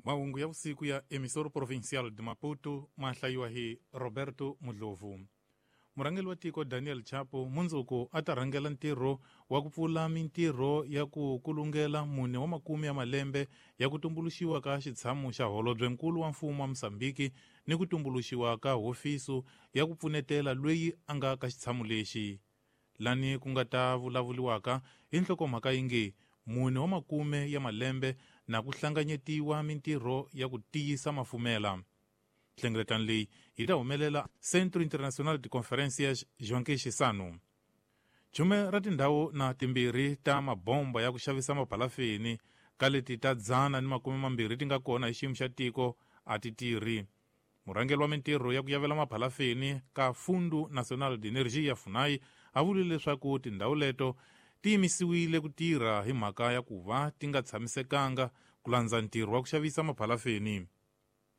Mahungu ya vusiku ya Emissora Provincial de Maputo ma hlayiwa hi Roberto Mudlovu. Murhangeri wa tiko Daniel Chapo mundzuku a ta rhangela ntirho wa ku pfula mintirho ya ku kulungela mune wa makume ya malembe ya ku tumbuluxiwa ka xitshamo xa holobyenkulu wa mfumo wa Mozambique ni ku tumbuluxiwa ka hofiso ya ku pfunetela loyi a nga ka xitshamo lexi. Lani ku nga ta vulavuliwaka hi nhlokomhaka yi nge mune wa makume ya malembe na ku hlanganyetiwa mintirho ya ku tiyisa mafumela. Nhlengeletano leyi yi ta humelela Centro Internacional de Conferências Joaquim Chissano. Chume ra tindhawu na timbirhi ta mabomba ya ku xavisa maphalafeni ka leti ta 120 ti nga kona hi xiyimo xa tiko a ti tirhi. Murhangeri wa mintirho ya ku yavela maphalafeni ka Fundo Nacional de Energia FUNAI a vurile leswaku tindhawu leto ti yimisiwile ku tirha hi mhaka ya ku va ti nga tshamisekanga ku landza ntirho wa ku xavisa maphalafeni.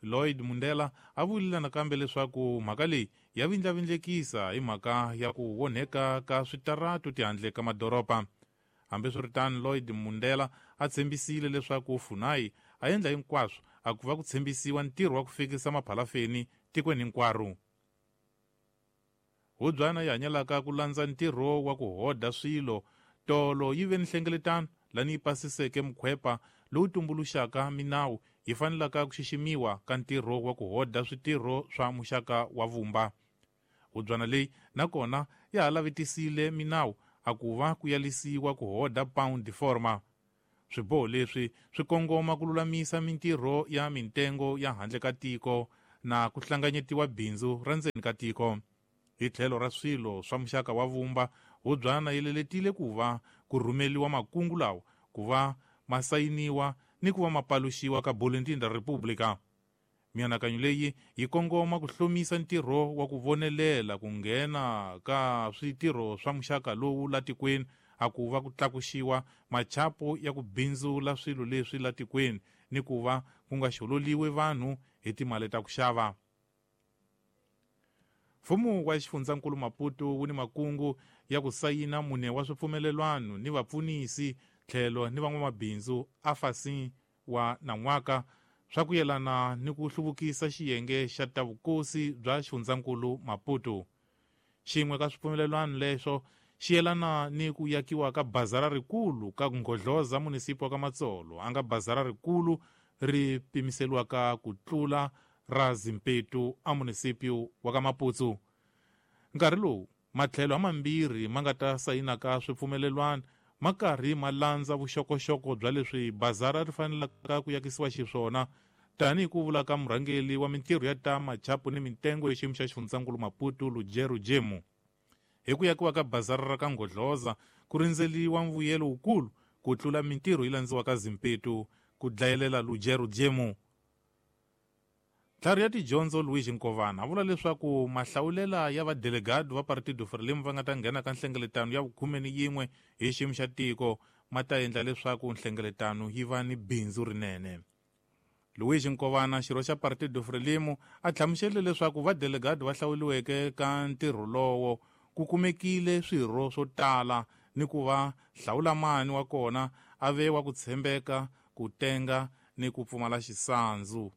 Lloyd Mundela a vurile nakambe leswaku mhaka leyi ya vindlavindlekisa hi mhaka ya ku onheka ka switaratu tihandle ka madoroba. Hambiswiritano, Lloyd Mundela a tshembisile leswaku FUNAI a endla hinkwaswo a ku va ku tshembisiwa ntirho wa ku fikisa maphalafeni tikweni hinkwaro. Hubyana yi hanyelaka ku landza ntirho wa ku hoda swilo tolo yi ve ni nhlengeletano lani yi pasiseke mukhwepa lowu tumbuluxaka minawu yi fanelaka ku xiximiwa ka ntirho wa ku hoda switirho swa muxaka wa vumba. Hubyana leyi nakona ya ha lavetisile minawu a ku va ku yalisiwa ku hoda pound de forma. Swiboho leswi swi kongoma ku lulamisa mintirho ya mintengo ya handle ka tiko na ku hlanganyetiwa bindzu ra ndzeni ka tiko. Hi tlhelo ra swilo swa muxaka wa vumba, hubyana yi leletile ku va ku rhumeliwa makungu lawa ku va ma sayiniwa ni ku va ma paluxiwa ka Boletim da República. Mianakanyo leyi yi kongoma ku hlomisa ntirho wa ku vonelela ku nghena ka switirho swa muxaka lowu la tikweni a ku va ku tlakuxiwa machapo ya ku bindzula swilo leswi la tikweni ni ku va ku nga xololiwi vanhu hi timali ta ku xava. Mfumo wa xifundzankulu Maputo wu ni makungu ya ku sayina mune wa swipfumelelwano ni vapfunisi tlhelo ni van'wamabindzu afasin wa nan'waka swa ku yelana ni ku hluvukisa xiyenge xa ta vukosi bya xifundzankulu Maputo. Xin'we ka swipfumelelwano leswo xi yelana ni ku yakiwa ka bazara rikulu ka Nghodloza munisipi wa ka Matsolo, a nga bazara rikulu ri pimiseliwaka ku tlula ra Zimpetu a munisipi wa ka Maputsu. Nkarhi lowu matlhelo hamambirhi ma nga ta sayinaka swipfumelelwano ma karhi ma landza vuxokoxoko bya leswi bazara ri fanelaka ku yakisiwa xiswona, tanihi ku vula ka murhangeri wa mintirho ya ta machapu ni mintengo hi xiyimo xa xifundzankulu Maputo Lujero Jemu. Hi ku yakiwa ka bazara ra ka Nghodloza ku rindzeliwa mvuyelo wukulu ku tlula mintirho yi landziwaka Zimpetu, ku dlayelela Lujero Jemu. Ntlhari ya tidyondzo Luigi Nkovana a vula leswaku mahlawulela ya vadelegado va Partido Frelimo va nga ta nghena ka nhlengeletano ya vukhume ni yin'we hi xiyimo xa tiko ma ta endla leswaku nhlengeletano yi va ni bindzu rinene. Luigi Nkovana, xirho xa Partido Frelimo, a hlamuserile leswaku vadelegado va hlawuriweke ka ntirho lowo ku kumekile swirho swo tala ni ku va hlawulamani wa kona a ve wa ku tshembeka, ku tenga ni ku pfumala xisandzu.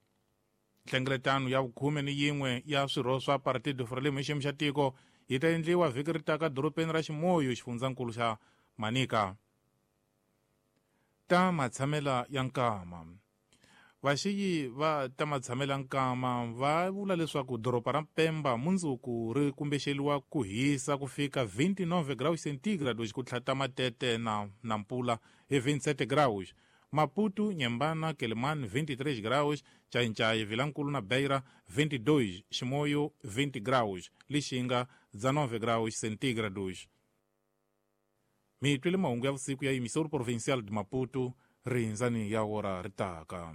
Nhlengeletano ya vukhume ni yin'we ya swirho swa Partido Frelimo hi xiyimo xa tiko yi ta endliwa vhiki ri taka dorobeni ra Ximoyo, xifundzankulu xa Manica. Ta matshamela ya nkama. Vaxiyi va ta matshamela nkama va vula leswaku doroba ra Pemba mundzuku ri kumbexeliwa ku hisa ku fika 29 graus centigrados ku tlhata matete na Nampula hi 27 graus. Maputo, Nyembana, Quelimane 23 graus, Xai-Xai, Vilankulu na Beira 22, Chimoio 20 graus, Lixinga 19 graus centígrados. Mi twile mahungu ya vusiku ya Emissora Provincial de Maputo, rindzani ya ora ri taka.